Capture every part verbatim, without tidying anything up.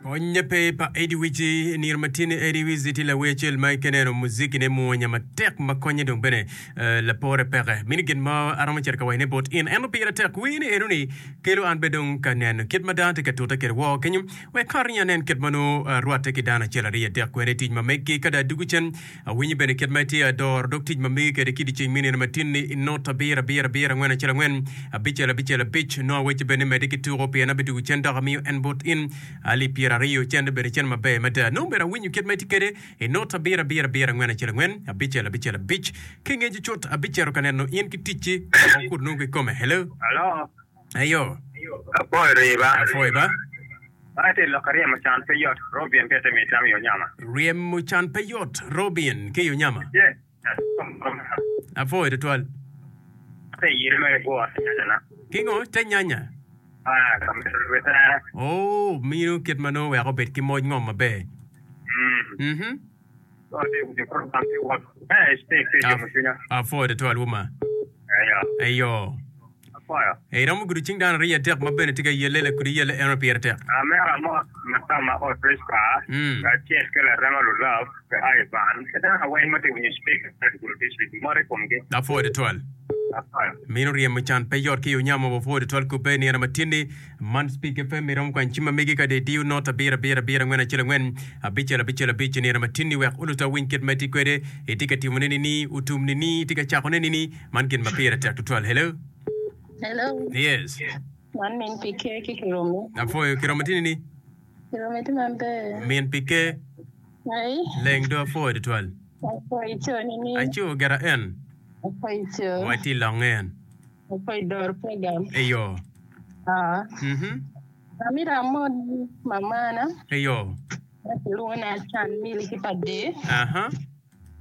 Konye pe pa Eddie Wizzy nino ma tye ni Eddie Wizzy tye lawer acel ma ikeneno muziki ne mwonya matek ma konye dong bene lapore peke. Mini gin ma aromo cito ka wacone bot in ento pire tek wer ni eno ni kelo an bene dong ka neno kit ma dano tye ka tute kwede woko kenyo wek kare ni anen kit ma nongo rwatte ki dano acel aryo adek kwede i tic ma meggi ka dong adwogo cen awinyo bene kit ma itye adoro dog tic ma megi kwede ki dyeceng me nino ma tin ni i not abiro abiro abiro angwen acel angwen abicel abicel abic nongo awecci bene ni medde ki tuko pien abidwogo cen dok amiyo en bot in alip pyera aryo cente obedo cente maber mada nongo bene awinyo kit ma itye kwede i not abiro abiro abiro angwen acel angwen abicel abicel abic ki ngeco cut abicito ka neno in ki ticci wek okut nongo kikome hello Alo. Eyo. Apwoyo riba. Apwoyo ba. Man tye lok ryemo can pe yot Robin ki ite mi tam i onyama. Ryemo can pe yot Robin ki i onyama. Apwoyo tutwal. Ate yire me gwo te nyanya na. Ki ngo? Te nyanya. Ah, ka mito lwe tere. Oh, mino kit ma nongo wek obed ki moc ngom maber. Mm. Mhm. Cwinya. Apwoyo tutwal wuma. Eyo. Eyo. Apwoyo. Iromo gudo cing dano aryo adek ma bene tye ka yelle lakudi yelle eno pire tek. Amera mot ma tama ot Prisca Mm. kacel ki larema Lulove ki Ivan ki dano weng ma tye ka winyo speaker me Gulu District mot i komgi. Apwoyo tutwal. Apwoyo. Mino ryemo can pe yot ki i onyamo wapwoyo tutwal kubbe nino matinni man Speak FM iromo kwanyo cim ma megi ka dong idiyo not abiro abiro abiro angwen acel angwen abicel abicel abic nino matinni wek oluta owiny kit ma itye kwede itye ka timone nini otum nini itye ka cakone nini man gin ma pire tek tutwal. Hello. Hello. Yes. Man min P K ki Kiromi. Apwoyo Kiromi tye nini? Kiromi tye maber. Min P K. Ai. Leng do apwoyo tutwal. Apwoyo ico nini? Aco gera en. Apwoyo ico. Watye longe en. Apwoyo doro program. Eyo. Ah. Mhm. Amito amot mamana. Eyo. Ma kilwongo ni Acan Mili ki pa Dave. Aha.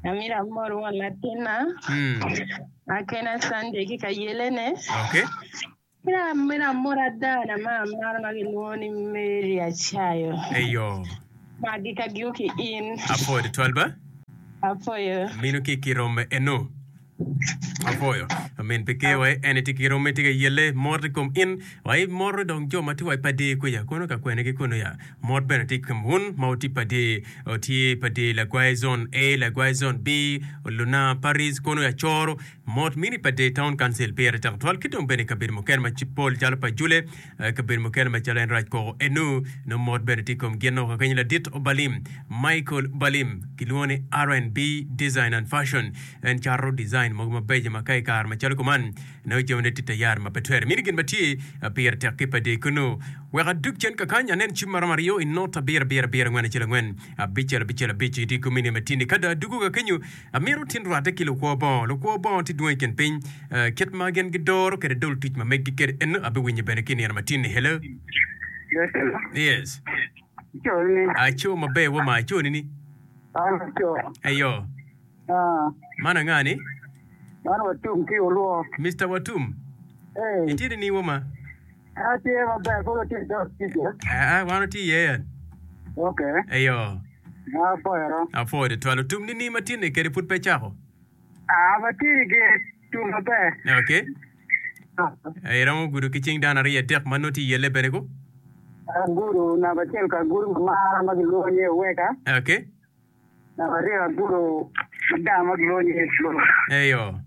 Amito amot won latinna. Mm. Akena Sunday ki ka yelene. Okay. Ki amito amot adana ma amaro ma kilwongo ni Mary Acayo. Eyo. Magi ka gio ki in. Apwoyo tutwal ba. Apwoyo. Mino ki kirome eno. Apwoyo. Min pi kewa en itye ki romme tye ka yelle mot i kom in wa i mot dong jo ma tye wa i padi kuca kono ka kwene ki kunu ya mot bene tye i kom wun ma wutye padi tye padi lagwai zone A lagwai zone B Luna Paris kono ya coro mot mini padi town council pire tek twal ki dong bene i kabedo mukene ma pol calo pa Jule kabedo mukene macalo en rac koko enu nongo mot bene tye i kom gin ka kenyo ladit Obalim Michael Obalim kilwongo ni R and B Design and Fashion en cato design mogo mabeco ma ka i kare macalo kuman nongo jamine tye tayari ma pe twere mini gin ma tye pire tek ki padi kunu wek adug cen kakany anen cim maromo aryo i not abiro abiro abiro angwen acel angwen abicel abicel abic itye komini matini ka dong adugo ka kenyo amito tin rwatte ki lukwo bongo lukwo bongo tye dwong i kin piny kit ma gin gidoro kwede dol tic ma meggi kwede eno abiwinyo bene ki nino matini. Hello. Yes, hello. Yes. Ico ni. Aco maber wo ma aco nini. An aco. Eyo. Ah. Man anga ni? Man Watum ki Olwo. Mister Watum. Hey. Itye nini wo ma? Atye maber, koro tye dog tic. Ah, wan otye iye yan. Okay. Eyo. Apwoyo. Apwoyo tutwal. Otum nini matini kede pud pe cako? Ah, matini ge tum maber. Okay. Iromo gudo ki cing dano aryo adek ma nongo tye iyelle bene ko? Agudo namba acel ka agudo mamara ma gilwongo ni Oweka. Okay. Namba aryo agudo madam ma gilwongo ni Flo. Eyo.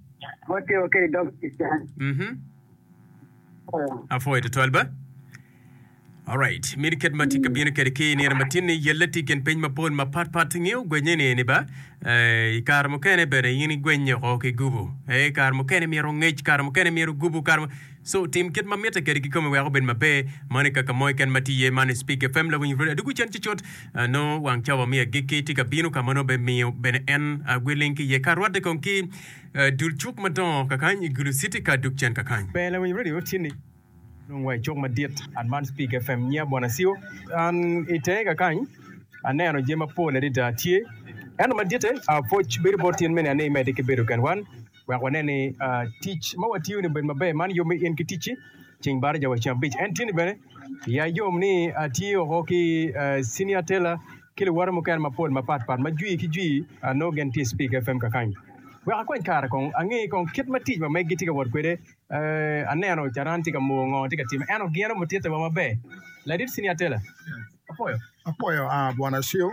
Watye kede dog tic kany. Mhm. Apwoyo tutwal ba. Alright, mini kit ma tye ka bino kwede ki nino matin ni yelle tye i kin piny mapol mapatpat ngeyo gwenye ni ni ba eh, i kare mukene bene in igwenye oko ki gubu eh, kare mukene myero ngec kare mukene myero gubu kare mo- so tim kit ma mitte kwede kikome wek obed maber mano i kaka mo keken ma tye iye man i Speak F M lawiny radio adugu cen cucut eh, nongo wang cawa me agikki tye ka bino ka ma nongo bemiyo bene en uh, gwiling ki iye ka rwatte kong ki eh, dul cuk madongo kakany i Gulu City ka dug cen kakany. Ber lawiny radio tye ni dong wa i cuk madit at man Speak F M nyiya Bwana Siu an i tenge kakany aneno jami mapol adada tye ento maditte pwoc bedo bot tin mene ane imedde ki bedo kenwan wek wanen ni tic ma watiyo ni obed maber man yom in ki ticci ceng baraja wa ceng abic en tye ni bene ya yom ni atye oko ki senior teller ki luwote mukene mapol mapatpat ma jwi ki jwi nongo gin tye Speak F M kakany wek akwany kare kong ange kong kit ma tic ma meggi tye ka wot kwede aneno caran tye ka moo ngo tye ka time ento gin omutitte wa maber ladit senior teller Apwoyo. Apwoyo a Bwana Cio.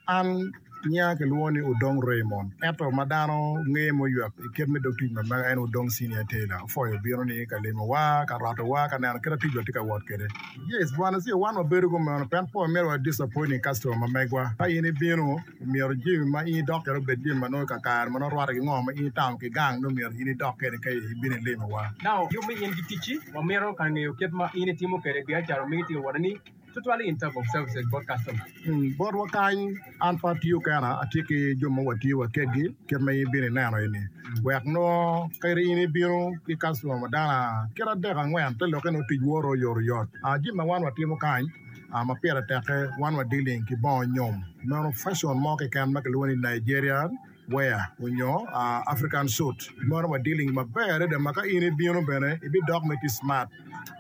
An nyinga kilwongo ni Odong Raymond ento ma dano ngeye muywek i kit me dog tic ma mega en Odong Senior Tailor. Apwoyo bino ni ka limowa, ka rotowa, ka neno kit ma ticwa tye ka wot kwede. Yes, Bwana Cio, wan wabedo kumeno pien pe wamito wa disappointing customer ma megwa. Ka in ibino, myero jami ma in idok kwede obed jami ma nongo kakare ma nongo rwatte ki ngo ma in itamo ki gang nongo myero in idok kwede ka ibino ilimowa. Now, yub me in ki ticci, wamito ka ngeyo kit ma in itimo kwede biacara megi tye ka wot-ni tutwal in terms of services bot customer. Mm, botwa kany an pe atiyo kena, atye ki jo ma watiyo wa kedgi kit ma in ibino ineno eni. Wek nongo kadi in ibino ki customer ma dano kit adek angwen te lokke nongo tic woto oyotoyot. Ah, jami ma wan watimo kany ah, ma pire tekke wan wa dealing ki bongo nyom. Meno fashion mo keken ma kilwongo ni Nigerian wear onyo ah, African suit. Meno wa dealing maber adada ma ka in ibino bene ibidok ma itye smart.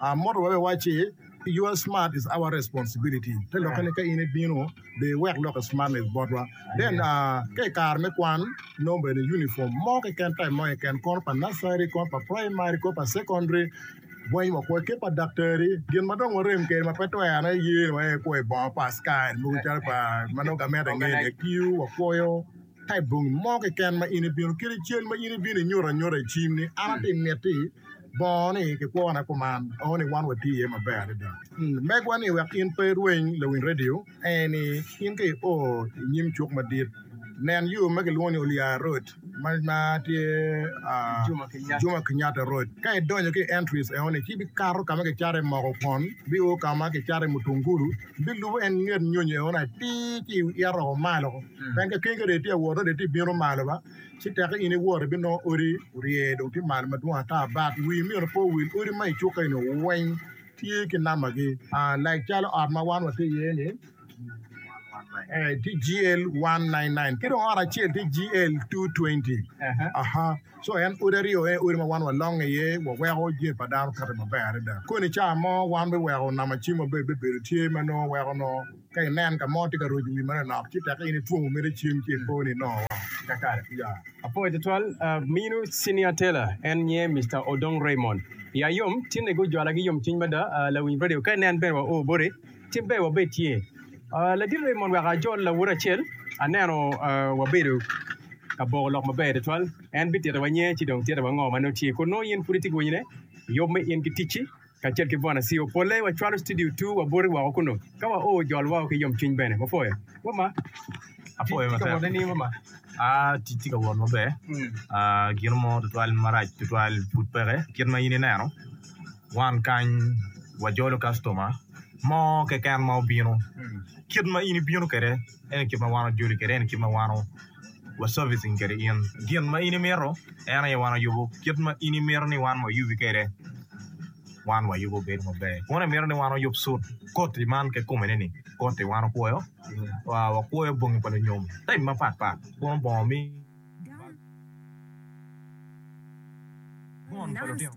Ah, motto wa bene wacci your smart is our responsibility. Te lokke ni ka in ibino be iwek lokke smartness botwa. Then uh, ka i kare me kwan nongo bene uniform mo keken type mo keken kono pa nursery, kono pa primary, kono pa secondary weng wakwoyo ki pa daktari gin ma dong warem kwede ma pe twere ye ni waye kwoyo bongo pa askari mogo calo pa ma nongo gamente ngeyo ni tiyo wakwoyo type bongi mo keken ma in ibino kadi cal ma in ibino inyuto anyuta i cim ni an atye miti bongo ni kikwona kuman ongo ni wan watye iye maber adada. Mm, megwa ni wek in pe irweny lawiny radio en ni in ka io i nyim cuk madit nen yo ma kilwongo ni Oliar Road ma, ma tye uh, Juma Kenyatta. Juma Kenyatta Road. Ka idonyo ki i entries eno ni ci bikato ka ma kicato i moko kwon bio ka ma kicato i mutungulu bilubo en nget nyonyo eno ni atir ci ito malo pien ka keny ka dong itye awot dong itye bino malo ba ci teke in iwot ibinongo odi orye dong tye malo madwong ata but wi myero pe owil odi ma i cuk eni weng tye ki nambagi uh, like calo ot ma wan watye iye ni eh, tye G L one nine nine ki dong ot acel tye G L two twenty. Aha. So en odi aryo en odi ma wan walongo iye waweko jami pa dano kati maber adada. Koni ca mo wan biweko namba cim maber bibedo tye ma nongo weko nongo ka inen ka mo tye ka roco wi manok ci teke in itwomo mere cim ci ipo ni inongo woko. Kakare. Yeah. Apwoyo tutwal uh, mino Senior Tailor en nye Mister Odong Raymond. Ya yom tinne gujwala ki yom cwiny mada uh, lawiny radio ka inen bene wa o boti tim ber wabed tye. Uh, ladit Raymond wek ajol lawot acel aneno uh, wabedo ka boko lok maber tutwal en bitito wa nye ci dong tito wa ngo ma nongo tye kun nongo in pud itye ka winyone yub me in ki ticci kacel ki Bwana C E O polle wacwalo studio two waboti woko kuno ka wa o jol woko ki yom cwiny bene wapwoyo wama. Apwoyo Tye ka matek. wot ni wama. Ah, tic tye ka wot maber. Ah, gino mo tutwal marac tutwal pud peke. Kit ma in ineno, wan kany wajolo customer mo keken ma obino. Kit ma in ibino kwede, en kit ma wan ojoli kwede, en kit ma wan wa servicing kwede in. Gin ma in imito, en aye wan oyubo. Kit ma in imito ni wan wayubi kwede, wan wayubo bedo maber. Kun imito ni wan oyub suit, koti man kikome ni, koti wan okwoyo, wa wakwoyo bongi pa lunyom, type mapat pat. Kun bongo mi bon pa lutino.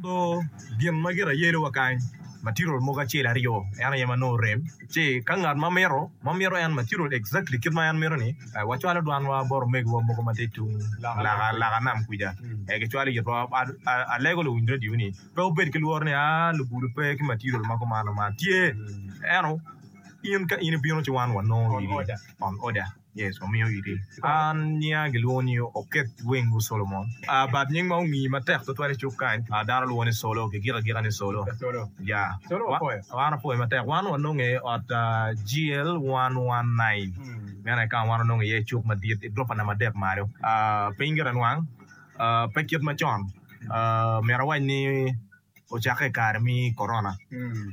Do gin ma gire yelo wa kany, material mogo acel aryo, en aye ma nongo rem. Ci ka ngat ma mito, ma mito en material exactly kit ma en mito ni, eh, wacwalo dwanwa bot omegiwa mogo ma tye tung laka, laka nam kuca. Eh, gicwalo itwa, a- a- alego luwiny radio ni, pe wubed ki lworo ni, ah, lugudo pe ki material ma kumano man. Tye, eno, in ka in ibino ci wan wanongo On iri. order. On order. Yes, wamiyo iri. An nyinga gilwongo ni Oket Wengu Solomon. Uh, but nying ma ongi matek tutwal i cuk kany, uh, dano lwongo ni Solo, gigiko agika ni Solo. Solo. Yeah. Solo Wa- wapwoyo. Wan apwoyo matek. Wan wanonge i ot uh, G L one one nine. Meno aye ka wan wanongo iye i cuk madit i gurofa namba adek malo. Uh, piny gire nwang, uh, pe kit macon. Uh, myero awac ni ocakke i kare mi corona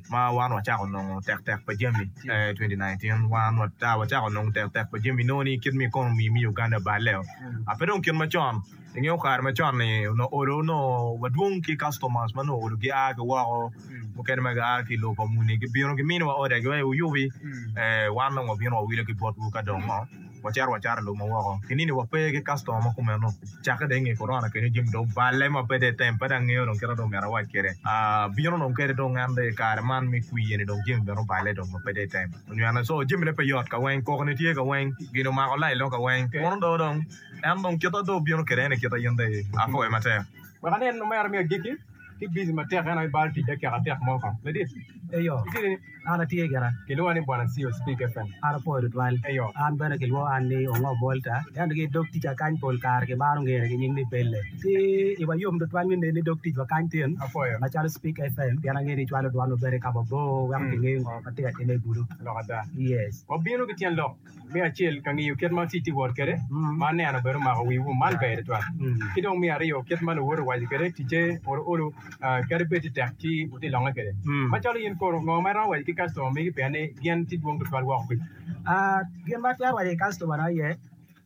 ma wan wacako nongo tek tek pa jami eh, twenty nineteen wan wata wacako nongo tek tek pa jami nongo ni kit mi economy mi Uganda balle a pe dong kit macon ingeyo kare macon ni onongo olo onongo wadwong ki customers ma nongo olo gia ki woko mukene ma gia ki lobo pa muni gibino giminiwa order giwaco wuyubi eh, wan dong wabino wawilo ki botwu ka dong ngo wacito wacato lum woko kinini wape ki customer ma kumeno cakke dong inge corona kenyo jami dong balle ma pe dong tem pe dong angeyo dong kit ma dong myero awac kwede Ah, bino dong kede dong en dong i kare man me kwiye ni dong jami bene oballe dong ma pe dong tem onyweno so jamine pe yot ka weng kokone tye ka weng gin omako lain dong ka weng kuno do dong en dong kita dong obino kede en i kita in dong apwoyo matek. Wek anen omera me agikki Tye busy matek en aye balo tic dakika atek mo kong. Ladit. Eyo. Itye ni? An atye gira. Kilwonga ni Bwana C O Speak F M. An apwoyo tutwal. Eyo. An bene kilwongo an ni Ongo Bolta. Ento ki dog tica kany pol kare kimaro ngene ki nying ni Belle. Ci iwa yom tutwal me neni dog ticwa kany tin. Apwoyo. Macalo Speak F M pien angeyo ni icwalo dwan maber i ka mabor weko kingeyo ngo ma tye ka timme i gudo. Lok ada. Yes. Wabino ki tyen lok me acel ka ngiyo kit ma tic tye wot kwede, ma aneno bene omako wiwu man ber tutwal. Ki dong me aryo kit ma luwote owaco kwede ticce olo olo kadi bed tye tek ci wutye longe kwede. Macalo in kono ngo ma iromo waco ki customer megi pien ni gin tye dwong tutwal woko kweci? Gin ma atwero waco ki customer na aye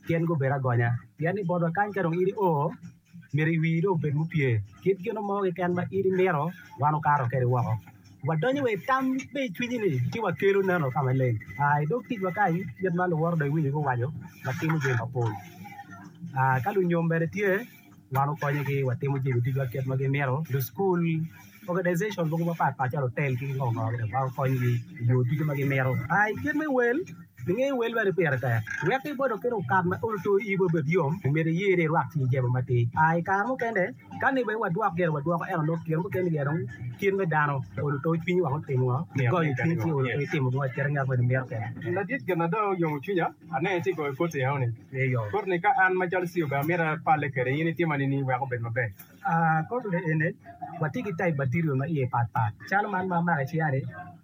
gin gubedo agonya pien ni botwa kany ka dong in io myero iwii dong obed mupye kit gin mo keken ma in imito wan okato kwede woko. Wadonyo wa i tam me i cwinyi ni ci wakelo neno ka maleng. I dog ticwa kany kit ma luwote dong iwinyo guwaco watimo jami mapol. Ka lunyom bene tye wan okonyogi watimo jami ducu kit ma gimito. Lucukul organization mogo mapatpat calo otel ki ngo ngo wan okonyogi i yo ducu ma gimito. I kit me wel inge wel bene pire tek. Wek ibed oketo okat ma olo to ibo obed yom myero iye ni irwak ci jemo matir. I kare mukene ka ni bene wadwok gire wadwoko ento nongo kine mukene gire dong kit me dano olo to cwinyi wang otimo ngo igoyo cwinyi ci olo to itimo gin kite ngat moni mito kwede. Ladit gin na dong oyomo cwinya aneno itye goyo koti eno ni. Eyo. Koti ni ka an macalo C E O bene amito apalle kwede in itima nini wek obed maber. Koti ni ene watye ki type material ma iye patpat calo man ma amako i cinga ni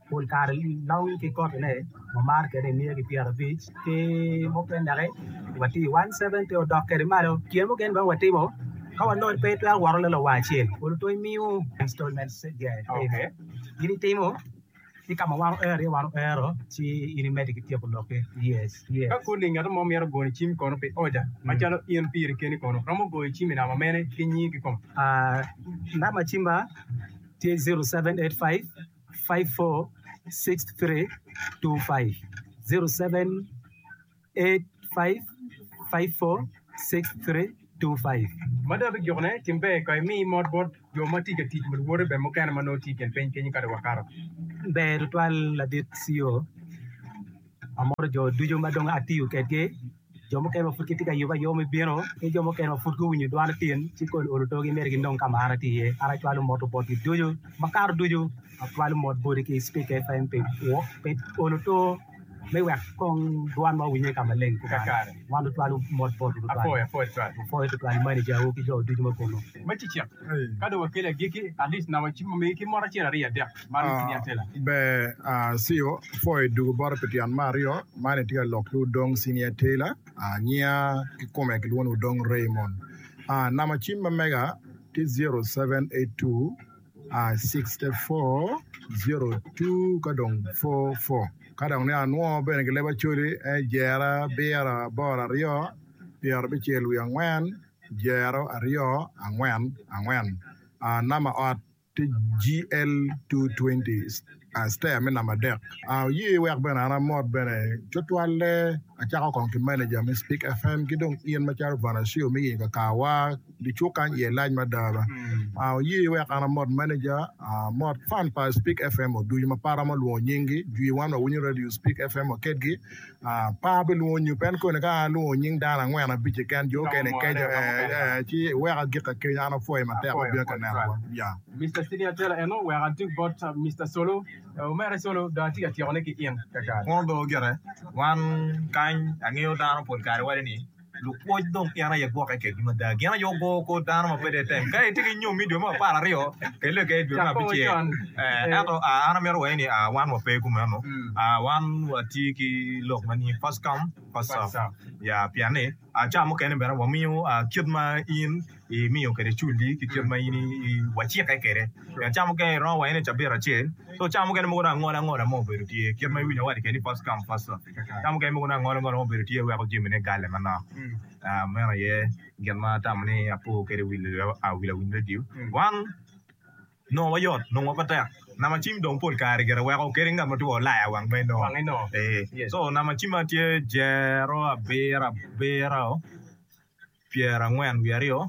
pol kare long ki kotine wamaro kwede miya ki pyerabic ki mukene dok watye i one seventy odok kwede malo kine mukene bene watimo ka wanongo pe itwero woto lelo wa acel olo to imiyo installment Okay. In itimo ki ka ma wan oero iye wan oero ci in imedde ki tyeko lokki. Yes, yes. Ka koni ngat mo myero goyo cim kono pi order macalo in piri keni kono romo goyo cim i namba mene ki nyingi kikome? Namba cimma tye zero seven eight five five four six three two five zero seven eight five five four six three two five. Ma dong abigikone tim ber ka imi mot bot jo ma tye ka tic ma luwote bene mukene ma nongo tye i kin piny kenyo ka dong wakato. Ber tutwal ladit C E O amoro jo ducu ma dong atiyo kedgi jo mukene ma pud gitye ka yubo ayuba me bino ki jo mukene ma pud guwinyo dwan tin ci koni olo togi myero ginong ka ma an atye iye. An acwalo mot botgi ducu makato ducu acwalo mot boti ki Speak F M pi pi olo to me wek kong dwan ma owinye ka maleng Kakare. Wan tutwalo mot bot tutwal. Apwoyo, apwoyo tutwal. Apwoyo tutwal manager-wu ki jo ducu ma kunu. Ma cicek, ka dong wakelo agikki, at least namba cim omigi ki mot acel aryo adek man Senior Tailor. Ber, C E O, apwoyo dugu bote pi tyen me aryo, man itye ka lok ki Odong Senior Tailor, nyinga kikome kilwongo ni Odong Raymond. Namba cim ma mega tye zero seven eight two sixty-four zero two ka dong four four. Ka dong ni anwo bene ki leb Acholi en jera abiro aboro aryo pyerabicel wiye angwen jero aryo angwen angwen. Namba ot tye G L two twenty stair me namba adek. Oye wek bene an amot bene tutwalle acako kong ki manager me Speak F M ki dong in macalo Bwana C E O me yenyo kakawa di cuk kany iye lac mada ba. Oye wek an amot manager amot fan pa Speak F M oducu ma pe aromo lwongo nyinggi jwi wan wawinyo radio Speak F M wakedgi pa bilwongo nyo pen koni ka an alwongo nying dano angwen abic keken jo okene keco ci wek agik akeny an apwoyo matek obino ka neno wa. Yeah. Mister Senior Tailor eno wek adug bot Mister Solo. Omere Solo dong atye ka tyekone ki in kakare. Kono dong gire wan kany angeyo dano pol kare waco ni lupwoc dong en aye gwokke kedgi mada gin aye ogo kor dano ma pe tem ka itye ki nyom i dwe me apar aryo kele ka i dwe me abicel ento an amito waco ni wan wape kumeno wan watye ki lok ma ni first come first serve ya pien ni ca mukene bene wamiyo kit ma in imiyo kwede culli ki kit ma in wacikke kwede ca mukene iromo waco ni cabit acel so ca mukene mogo dong angola angola mo obedo tye kit ma iwinyo awaco kwede ni first come first serve ca mukene mogo dong angola angola mo obedo tye weko jamine gale manok meno aye gin ma atamo ni apo kwede wi lawiny radio wan nongo wayot nongo pe tek namba cim dong pol kare gire weko kadi ngat ma tye olaya wang ma inongo so namba cimma tye jero abiro abiro pyerangwen wiye aryo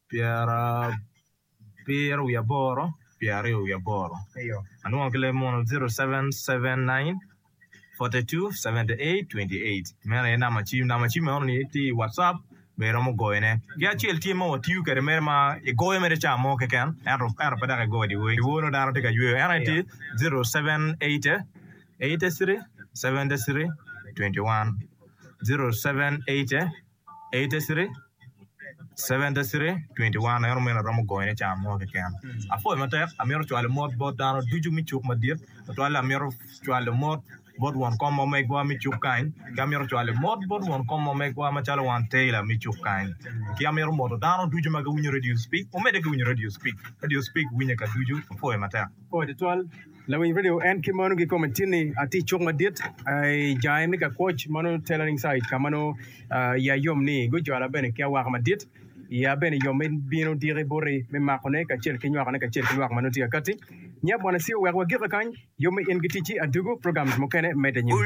pyerabiro wiye aboro pyeraryo wiye aboro anwongo ki leb muno zero seven seven nine forty-two seventy-eight twenty-eight meno aye namba cim namba cim eno ni tye i WhatsApp Bene iromo goyone. Ki acel tye ma watiyo kwede mere ma igoyo mere ca mo keken ento ento pe dok igoyo dyewor. Dyewor nongo dano tye ka yweyo. En aye tye zero seven eighty eighty three seventy three twenty one zero seven eighty eighty three seventy three twenty one eno meno aromo goyone ca mo keken. Apwoyo matek amito cwalo mot bot dano ducu me cuk madit tutwalle amito cwalo mot bot won kom ma megwa me cuk kany ki amito cwalo mot bot won kom ma megwa macalo wan Taylor me cuk kany ki amito moto dano ducu ma giwinyo Radio Speak wumedde ki winyo Radio Speak Radio Speak winye ka ducu apwoyo matek. Apwoyo tutwal lawiny radio en ki mano gikome tye-ni atye i cuk madit i jange me Kakwoc ma nongo tailoring site ka ma nongo iya yom ni gujwala bene ki awaka madit iya bene yom me bino diki boti me makone kacel ki nywakone kacel ki lwak ma nongo tye ka katti. Nya Bwana Sio wek wagike kany. Yub me in ki ticci adugu programs mukene medde anyim.